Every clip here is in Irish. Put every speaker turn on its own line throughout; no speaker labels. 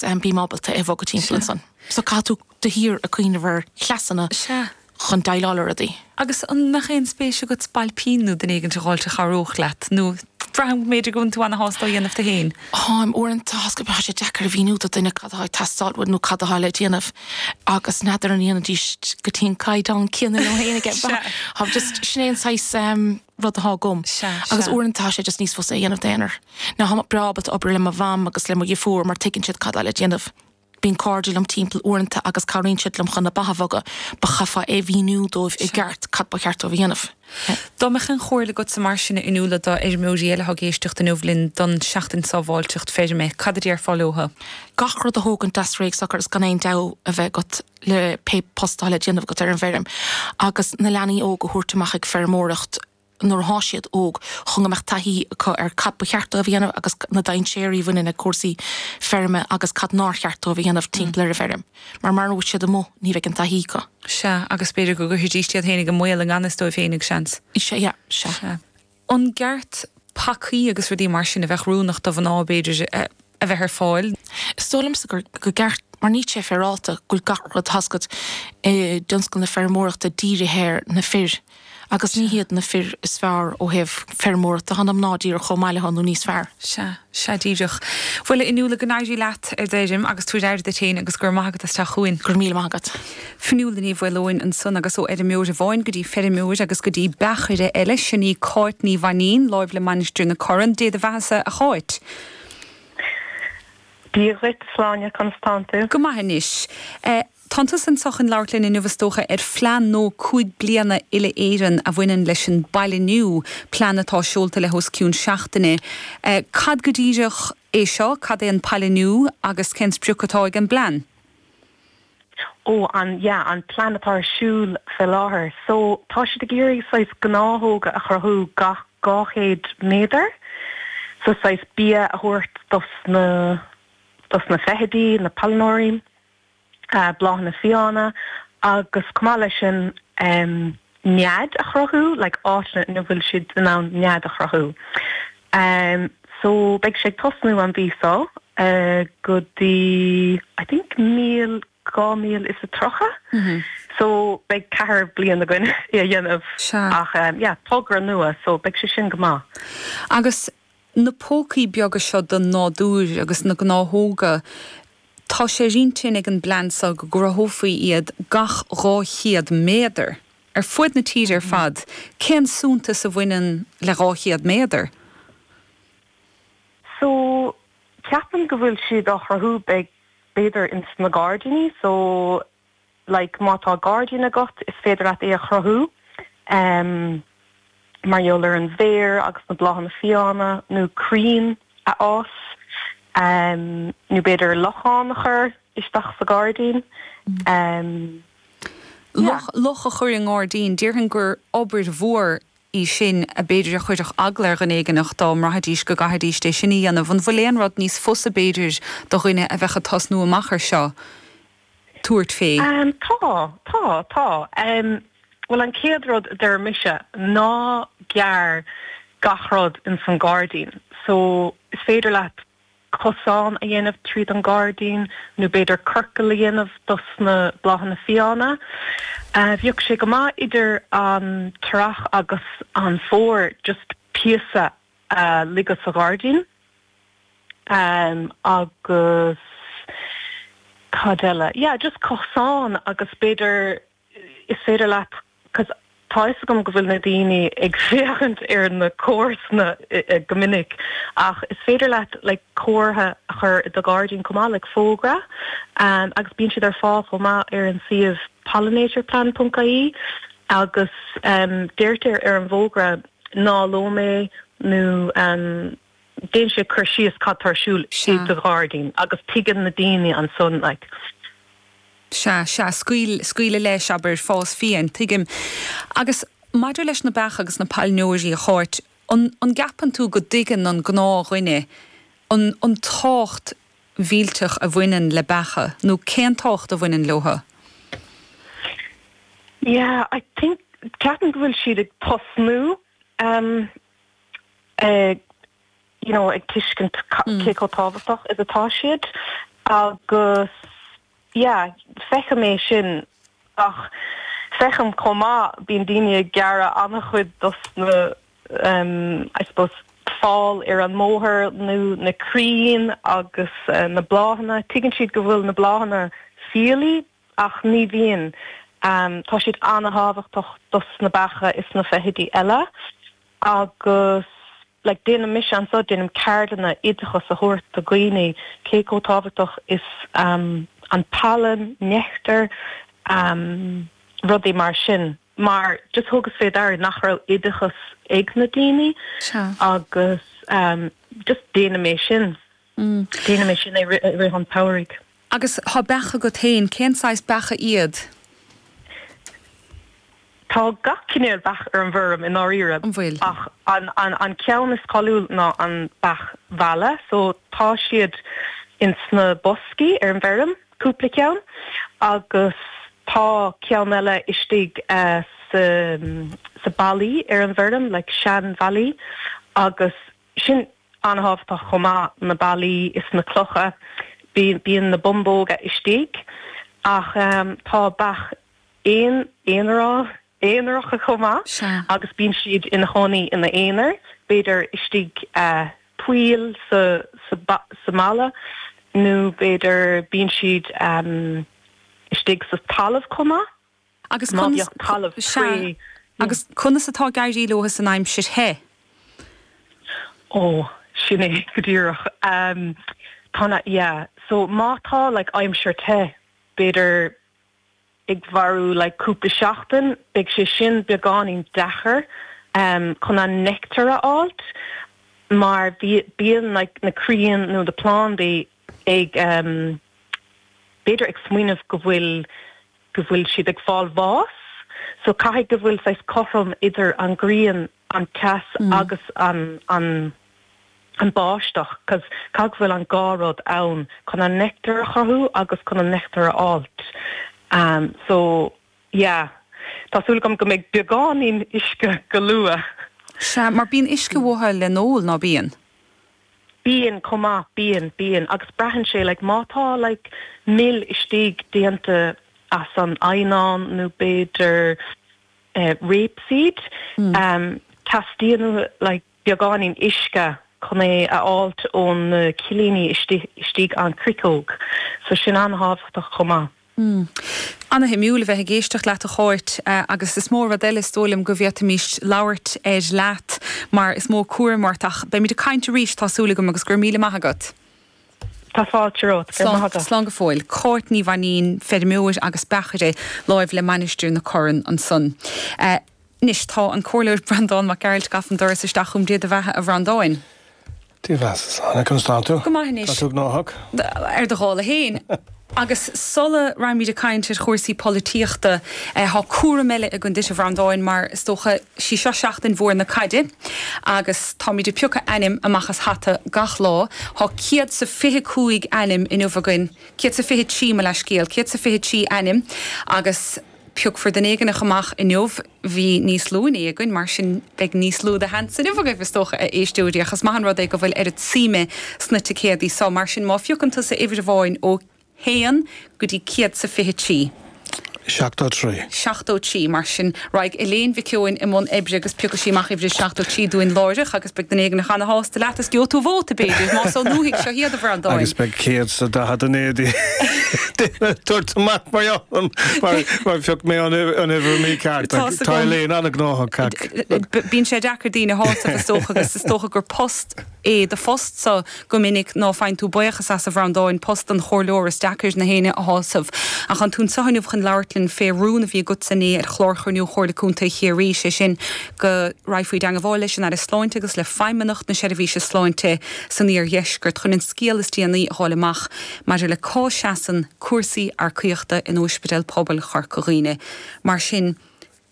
Bím ábalta é a bhogadh timpeall ansan. So caithfidh tú de shíor ag cuimhneamh ar chleasanna chun déileáil le rudaí.
Agus an mbeadh aon spéis agat spailpín nó duine éigin a dh'fháilt a chabhródh leat? Nó braithim go mb'fhéidir go bhfuil tú ana-shásta á dhéanamh tú féin?
Táim. Uaireanta tá sé deacair a mhíniú do duine cad atá ag teastáil uait nó cad atá le déanamh agus n'fheadar an ndéanfaidís go dtí an caighdeán céanna liom féin aige. Tá just, sin é an saghas rud atá agam. Agus uaireanta tá sé just níos fusa a dhéanamh d'aonar. Now táim breá ábalta obair le mo mham agus le mo dheirfiúr mar tuigeann siad cad atá le déanamh. Bíonn cairde liom timpeall uaireanta agus cabhraíonn siad liom chun na ba a bhogadh, but chaithfeá é a mhíniú dóibh i gceart cad ba cheart dóibh a dhéanamh.
Dá mbeadh aon chomhairle agatsa mar sin a Fhionnuala do fheirmeoirí eile atá ag éisteacht inniu linn don Seachtain Sábháilteacht Feirme, cad a déarfá leotha?
Gach rud a thógaint deas réidh socair is gan aon deabhadh a bheith agat le pé post atá le déanamh agat ar an bhfeirm agus na leanaí óga a thabhairt amach ag feirmeoireacht nuair atá siad óg chun go mbeadh taithí acu ar cad ba cheart dóibh a dhéanamh agus na dainséirí a bhaineann le cúrsaí feirme agus cad nár cheart dóibh a dhéanamh timpeall ar an bhfeirm. Mar mara bhfuil siad amuigh ní bheidh an taithí acu.
Sea, agus b'fhéidir go gcuirfidís iad féinig i mbaol i ngan fhios dóibh féinig, seans.
Sea, yeah, sea.
Sea. An gceart pacaí agus rudaí mar sin a bheadh oiriúnach do mhná, b'fhéidir, a bheith ar fáil?
Is dóigh liomsa gur go gceart, mar níl sé féaráilte go bhfuil gach rud tá a fhios agat i dtionscal na feirmeoireachta dírithe ar na fir agus ní hiad na fir is fearr ó thaobh feirmeoireachta, tá na mná díreach chomh maith leo nó níos fearr.
Sea, sea díreach. Bhuel, a Fhionnuala, go n-éirí leat ar d'fheirm agus tabhair aire duit féin agus go raibh maith agat as teacht chugainn.
Go raibh míle maith agat.
Fionnuala Ní Mhaoileoin ansan agus ó fheirmeoir amháin go dtí feirmeoir agus go dtí beachaire eile, sin í Cáit Ní Mhainín, láimh le Mainistir na Corann. Dé do bheathasa, a Cháit.
Dia dhuit, Sláine, conas tánn tú?
Go maith anois. Tánn tusa anso chun labhairt linn inniu is dócha ar phlean nua 5 bliana uile-Éireann a bhaineann leis an bpailiniú, plean atá seolta le hos cionn seachtaine. Cad go díreach é seo, cad é an pailiniú agus cén sprioc atá ag an bplean?
Ó, an, yeah, an plean atá ar siúl fé láthair. So, tá siad ag iarraidh saghas gnáthóga a chruthú gach 200 méadar. So, saghas bia a thabhairt dos na, dos na feithidí, na pailneoirí, bláthanna fiáine agus chomh maith leis sin, em, nead a chruthú, like áiteanna ina bhfuil siad in ann nead a chruthú. Em, so beidh sé ag tosnú an mhí seo go dtí I think míl, 2030. So beidh ceathair bliain againn é a dhéanamh ach em yeah, togra nua so beidh sé sin go maith.
Agus na pócaí beaga seo den nádúr agus na gnáthóga, tá sé ar intinn ag an bplean seo go gcruthófaí iad gach 200 méadar, ar fuaid na tíre ar fad. Cén suntas a bhaineann le 200 méadar?
So, ceapaim go bhfuil siad á chruthú, b'fhéidir ins na gairdíní, so like má tá gairdín agat is féidir leat é a chruthú em mar gheall ar an bhféar agus na bláthanna fiáine nó crainn a fhás em nó b'fhéidir lochán a chur isteach sa ghairdín em
yeah. Loch a chur i ngairdín, déarfainn gur obair mhór í sin a b'fhéidir a chuirfeadh eagla ar dhuine éigineach dá mbraithfidís go gcaithfidís é sin a dhéanamh. An bhfuil aon rud níos fusa b'fhéidir do dhuine a bheadh ag tosnú amach ar seo? tabhairt fé?
Tá, tá, tá. Bhuel, an chéad rud a deir mise, ná gearr gach rud ins an gairdín. So, is féidir leat cosán a dhéanamh tríd an gairdín nó b'fhéidir ciorcal a dhéanamh dos na bláthanna fiáine. Bheadh sé go maith idir an t-earrach agus an fómhar just píosa a ligeadh sa ghairdín. Agus cad eile? Yeah, just cosán agus b'fhéidir is féidir leat, 'cause tá fhios agam go bhfuil na daoine ag féachaint ar na comharsana go minic ach is féidir leat like comhartha a chur i do ghairdín chomh maith, like fógra agus bíonn siad ar fáil chomh maith ar an suíomh pollinatorplan.ie agus deirtear ar an bhfógra ná lom é nó déanann sé cur síos cad tá ar siúl i do ghairdín agus tuigeann na daoine ansan like.
Sea, sea, scaoil, scaoileadh leis, abair, fás fiáin, tuigim. Agus maidir leis na beacha agus na pailneoirí, a Cháit, an, an gceapann tú go dtuigeann an gnáthdhuine an, an tábhacht mhillteach a bhaineann le beacha, nó cén tábhacht a bhaineann leotha?
Yeah, I think, ceapaim go bhfuil siad ag tosnú, um, you know, ag tuiscint cé chomh tábhachtach is atá siad. Agus yeah, feicim é sin ach feicim chomh maith, bíonn daoine ag gearradh an-chuid dos na I suppose fál ar an mbóthar nó na crainn agus na bláthanna. Tuigeann siad go bhfuil na bláthanna fiailí ach ní bhíonn. Tá siad an-thábhachtach dos na beacha is na feithidí eile agus like déanaim mise anso, déanaim ceardlanna oideachas a thabhairt do dhaoine cé chomh tábhachtach is an pailin, neictear, rudaí mar sin. Mar just thugas fé deara nach raibh oideachas ag na daoine agus just déanaim é sin. Déanaim é sin i rith an tsamhraidh.
Agus tá beacha agat féin, cén saghas beacha iad?
Tá gach cinéal beach ar an bhfeirm i ndáiríre.
An bhfuil?
Ach an ceann is cáiliúil ná an beach mheala. So tá siad ins na boscaí ar an bhfeirm, cúpla ceann, agus tá ceann eile istigh sa sa ballaí ar an bhfeirm, like sean bhallaí, agus sin an-thábhachtach chomh maith, na ballaí is na clocha, bíonn na bumbóga istigh ach tá beach aon aonará aonaracha chomh maith agus bíonn siad ina chónaí ina aonar, b'fhéidir istigh poill sa sa mballa nó b'fhéidir bíonn siad istigh sa talamh chomh maith.
Agus Má
bheadh talamh
sea. Agus conas atá ag éirí leo san aimsir the?
Ó, sin é go díreach. Tá na, yeah. So má tá like aimsir the, b'fhéidir ag mharú like cúpla seachtain, beidh sé sin beagáinín deacair chun an neictear a fháilt mar bíonn like na crainn nó na plandaí ag b'fhéidir ag smaoineamh go bhfuil go bhfuil siad ag fáil bhás. So caithfidh go bhfuil saghas cothrom idir an ghrian, an teas agus an an an báisteach 'cause caithfidh go bhfuil an dhá rud ann chun an neictear a chruthú agus chun an neictear a fháilt. So yeah, tá súil agam go mbeidh beagáinín uisce go luath.
Sea, mar bíonn uisce uathu le n-ól, ná bíonn?
Bíonn, chomh maith, bíonn, bíonn. Agus braitheann sé, like, má tá, like, mil istigh déanta as an eidhneán nó b'fhéidir eh rapeseed, em, teastaíonn uathu, like, beagáinín uisce chun é a fháilt ón na cillíní istigh, istigh an chriceog. So sin an-thábhachtach chomh maith.
Ana-shuimiúil a bheith ag éisteacht leat a Cháit agus is mó rud eile is dóigh liom go bhféadfaimis labhairt air leat mar is mó cúram ort ach beimid ag caint arís tá súil agam agus go raibh míle maith agat.
Tá fáilte romhat. Go raibh maith agat.
Slán go fóill. Cáit Ní Mhainín, feirmeoir agus beachaire láimh le Mainistir na Corann ansan. Anois tá an Comhairleoir Breandán Mac Gearailt gafa an doras isteach chugam. Dé do bheatha a Bhreandáin.
Dia do bheatha, Sláine, conas tánn tú?
Go maith anois.
Tá tú gnóthach?
Ar do dhála fhéin. Agus sula raghaimid ag caint ar chúrsaí polaitíochta, tá cúram eile againn duit a Bhreandáin mar is dócha, sí seo seachtain mhór na caide agus táimid ag piocadh ainm amach as hata gach lá. Tá 125 ainm inniu againn, 123 mo leathscéal, 123 ainm agus, Piocfar duine éigineach amach inniu. Bhí níos lú inné againn, mar sin beidh níos lú de sheans inniu agaibh, is dócha, a éisteoirí, ach is maith an rud é go bhfuil oiread suime sna ticéadaí so. Mar sin, má phiocann tusa uimhir amháin ó haon go dtí 123.
73.
73. Mar sin, raghaidh Elaine Mhic Eoin i mbun oibre agus piocfaidh sí amach uimhir 73 dúinn láithreach agus beidh duine éigineach ana-shásta leat is gheobhaidh tú vóta, b'fhéidir, más ón ndúthaigh seo iad, a Bhreandáin.
Agus beidh 149 duine ag tabhairt amach mar gheall orm mar phioc mé an uimhir mícheart. Tá Elaine an-ghnóthach.
Bíonn sé deacair daoine a shásamh is dócha agus is dócha gur post é do phost-sa go minic ná faigheann tú buíochas as, a Bhreandáin, post an chomhairleora, is deacair na héinne a shásamh. Ach tánn tú anseo inniu chun labhairt linn fé rún a bhí agatsa inné ar chlár chruinniú Chomhairle Contae Chiarraí, sé sin go raghfaí i dteangabháil leis an Aire Sláinte agus le Feidhmeannacht na Seirbhíse Sláinte san Iardheisceart chun an scéal is déanaí a fháil amach maidir le cá seasann cúrsaí earcaíochta in Ospidéal Pobail Chorca Dhuibhne. Mar sin,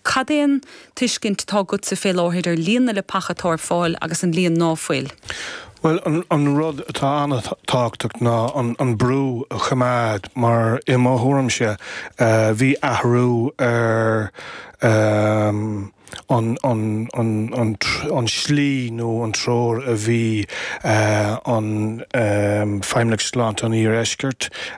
cad é an tuiscint atá agatsa fé láthair ar líon na leapacha atá ar fáil agus an líon ná fuil?
Bhuel, an rud atá an-tábhachtach ná an brú a choimeád mar i mo thuairimse bhí athrú ar. An tslí nó an treoir a bhí an Feidhmeannacht Sláinte an Iardheiscirt.